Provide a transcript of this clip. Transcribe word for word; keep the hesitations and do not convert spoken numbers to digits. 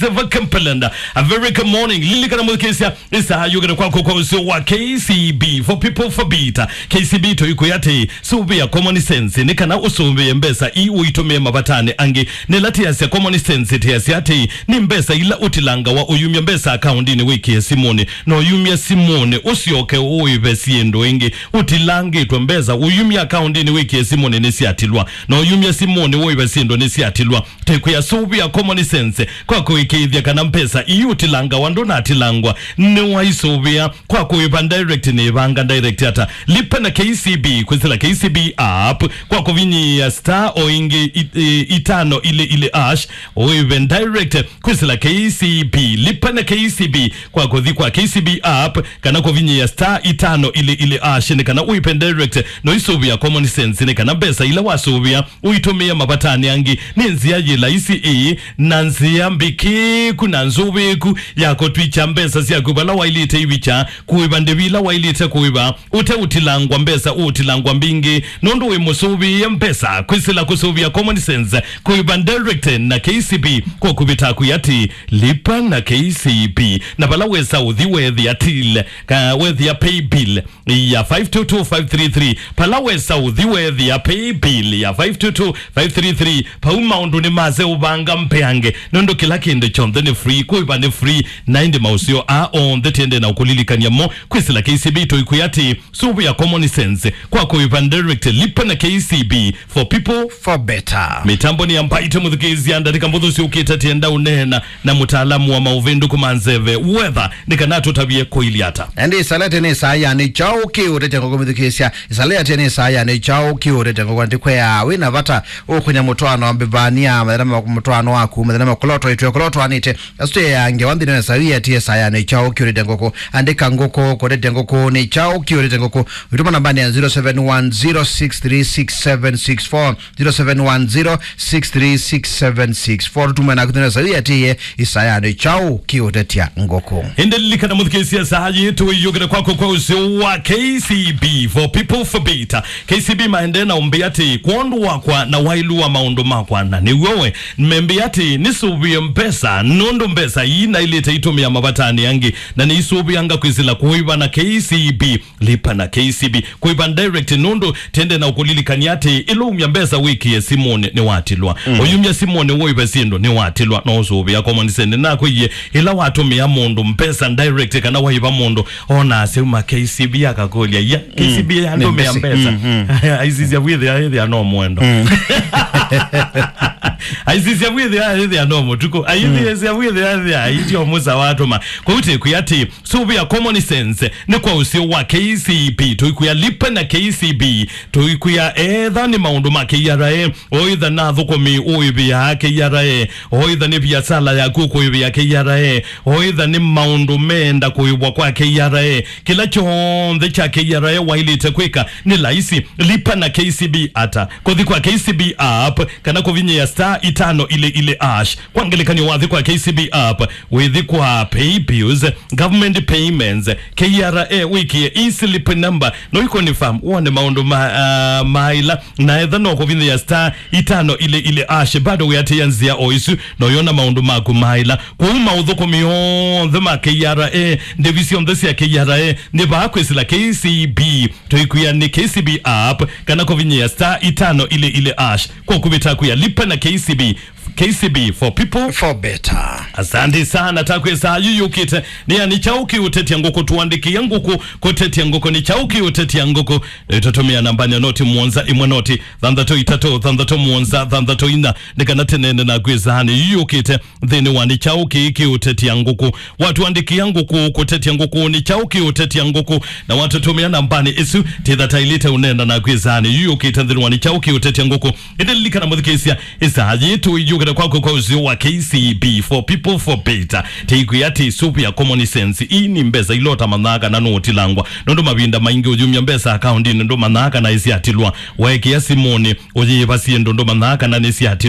Zeva Kempelenda, a very good morning. Lilikana mũthikĩĩsya, ĩsaa yũkĩte kwaku kwa ũseo wa K C B, for people, for better. K C B tũikwĩa atĩ, sũvĩa common sense, nĩ kana ũsũvĩe mbesa ii ũitũmĩe mavatanĩ angĩ. Nĩla tĩasya common sense, tĩasya atĩ, nĩ mbesa ila ũtilangawa ũyumya mbesa akaũndinĩ wĩkĩe simũnĩ, na ũyumya simũnĩ, ũsyoke ũĩve syĩndũ ĩngĩ. Ũtilangĩtwe mbesa, ũyumya akaũndinĩ wĩkĩe simũnĩ nĩsyatilwa, na ũyumya simũnĩ ũĩve syĩndũ nĩsyatilwa. Tĩkwĩa sũvĩa common sense kwa kũĩkĩĩthya kana mbesa ii ũtilangawa ndũnatilangwa. Nĩwaisũvĩa kwa kũĩva direct nĩ ĩvanga direct ata. Lipa na K C B, kwĩsĩla K C B app, kwa kũvinyĩĩa star o ĩngĩ it-, ĩ-, itano ilĩ ilĩ hash, ũĩve direct kwĩsĩla K C B. Lipa na K C B kwa kũthi kwa K C B app, kana kũvinyĩĩa star itano ilĩ ilĩ hash, nĩ kana ũĩve direct. No isũvĩa common sense, nĩ kana mbesa ila wasũvĩa ũitũmĩe mavatanĩ angĩ. Nĩ nzĩa yĩ laisi ĩĩ, na nzĩa mbĩkĩĩku na nzũvĩĩku ya kũtwikya mbesa syaku vala wailĩte ivikya, kũĩva ndĩvi ila wailĩte kũĩva, ũte ũtilangwa mbesa, ũtilangwa mbingĩ, nũndũ wĩ mũsũvĩĩe mbesa, kwĩsĩla kũsũvĩa common sense, kũĩva direct na K C B, kwa kũvĩta kwĩ atĩ, lipa na K C B. Na vala wesa ũthi weethĩa till, ka weethĩa pay bill, ya five two two five three three. Pala wesa ũthi weethĩa pay bill ya five two two five three three, pau maũndũ nĩ maseũvanga mbeange, nũndũ kĩla kĩndũ kyonthe nĩ free, kũĩva nĩ free, na ĩndĩ maũseo aa onthe tĩende na ũkũlilikany'a mo, kwĩsĩla K C B tũikwĩa atĩ, sũvĩa common sense, kwa kũĩva direct, lipa na K C B, for people, for better. Mĩtambo nĩ ya Mbaitũ mũthikĩĩsya, ndatĩka mbũthũ syũkĩte tĩenda ũneena na mũtaalamu wa maũvĩndũku ma nzeve, weather, nĩ kana atũtavye kũilyĩ ata. Ĩndĩ ĩsalĩ atĩ nĩ saa ya nĩ kyaũ kĩũtetya ngũkũ mũthikĩĩsya. Ĩsalĩ atĩ nĩ saa ya nĩ kyaũ kĩũtetya ngũkũ. Ndikwĩa wĩ na vata ũkũnya mũtwaano wa mbĩvania, mathĩna ma mũtwaano waku, mathĩna ma kũlotwa itwe kũlotwanĩte. Asu ya ngewa nthĩnĩ wa saa ii atĩ ĩsaa ya nĩ kyaũ kĩũtetya ngũkũ. Andĩka ngũkũ, kũtetya ngũkũ, nĩ kyaũ kĩũtetya ngũkũ. Wĩtũma nambani ya zero seven one zero six three six seven six four. Zero seven one zero six three six seven six four. Tũtũme naku thĩna sawi atĩĩe, ĩsaa ya nĩ kyaũ kĩũtetya ngũkũ. Ĩndĩ lilikana mũthikĩĩsya, saa yĩĩ tũiyũkĩte kwaku kwa ũseo wa K C B, for people, for better. K C B maendee na ũmbĩa atĩ, kwondũ wakwa na wailu wa maũndũ makwa, na nĩw'o we, membĩa atĩ nĩsũvĩe mbesa, nũndũ mbesa ii nailĩte itũmĩa mavatanĩ angĩ, na nĩisũvĩanga kwĩsĩla kũĩva na K C B. Lipa na K C B. Kũĩva direct nũndũ tĩende na ũkũlilikany'a atĩ ĩla umya mbesa wĩkĩe simũnĩ nĩwatilwa. Mm. Ũyumya simũnĩ ũĩve syĩndũ nĩwatilwa. No ũsũvĩa common sense. Nakwĩie ĩla watũmĩa mũndũ mbesa direct kana waĩva mũndũ, ona aseuma K C B akakũlya, "Ya, K C B yandũmĩa mbesa." Mm, mm. Aisisya wĩthĩa, ĩthĩa no mwendo. Mm. Aisisya wĩthĩa, ĩthĩa no mũtuku. Aisisya wĩthĩa, ĩthĩa aityo mũsa watũma. Kwa hiyo tĩkwĩa atĩ, sũvĩa common sense, nĩ kwa ũseo wa K C B, tũikwĩa lipa na K C B, tũikwĩa etha nĩ maũndũ ma K R A, oitha na athũkũmi ũĩvĩaa K R A, oitha nĩ viasala yaku ũkũĩvĩa K R A, oitha nĩ maũndũ meenda kũĩvwa kwa K R A, kĩla kyonthe kya K R A wailĩte kwĩka nĩ laisi, lipa na K C B ata, kũthi kwa K C B app, kana kũvinyĩa star itano ilĩ ilĩ hash. Kwa ngelekany'o, wathi kwa K C B app, wĩthi kwa pay bills, government payments, K R A, wĩkĩe e-slip number, no ũconfirm wone maũndũ ma, ah, maila, na etha no kũvinyĩa star itano ilĩ ilĩ hash, bado wĩatĩĩa nzĩa o isu, no yona maũndũ maku maila. Kwoou maũthũkũmi onthe ma K R A, ndĩvi syonthe sya K R A, nĩ vaa kwĩsĩla K C B, tũikwĩa nĩ K C B app, kana kũvinyĩa star itano ilĩ ilĩ hash, kwa kũvĩta kwĩa lipa na K C B, K C B, for people, for better. Asante sana, takwĩsa yu yũkĩte. Nĩ ya nĩ kyaũ kĩũtetya ngũkũ, tũandĩkĩe ngũkũ, kũtetya ngũkũ, nĩ kyaũ kĩũtetya ngũkũ. E, tũtũmĩa namba ya noti mũonza ĩmwe noti thanthatũ itatũ thanthatũ mũonza thanthatũ ina, nĩ kana tũneene naku ĩsaanĩ yu yũkĩte nthĩnĩ wa nĩ kyaũ kĩĩ kĩũtetya ngũkũ. Watũandĩkĩa ngũkũ, kũtetya ngũkũ, nĩ kyaũ kĩũtetya ngũkũ, na watũtũmĩa nambanĩ ĩsu, tĩtha taĩlĩte ũneena naku ĩsaanĩ yu yũkĩte nthĩnĩ wa nĩ kyaũ kĩũtetya ngũkũ. Ĩndĩ lilikana mũthikĩĩsya, ĩsaa yĩĩ tũiyũkĩte kwaku kwa ũseo wa K C B, for people, for better. Tĩikwĩa atĩ sũvĩa common sense. Ii nĩ mbesa ila ũtamanyaa kana nũũtilangwa. Nũndũ mavinda maingĩ ũyumya mbesa akaũndinĩ ndũmanyaa kana ĩsyatilwa. Waĩkĩa simũnĩ, ũyĩĩva syĩndũ ndũmanyaa kana nĩsyatilwa.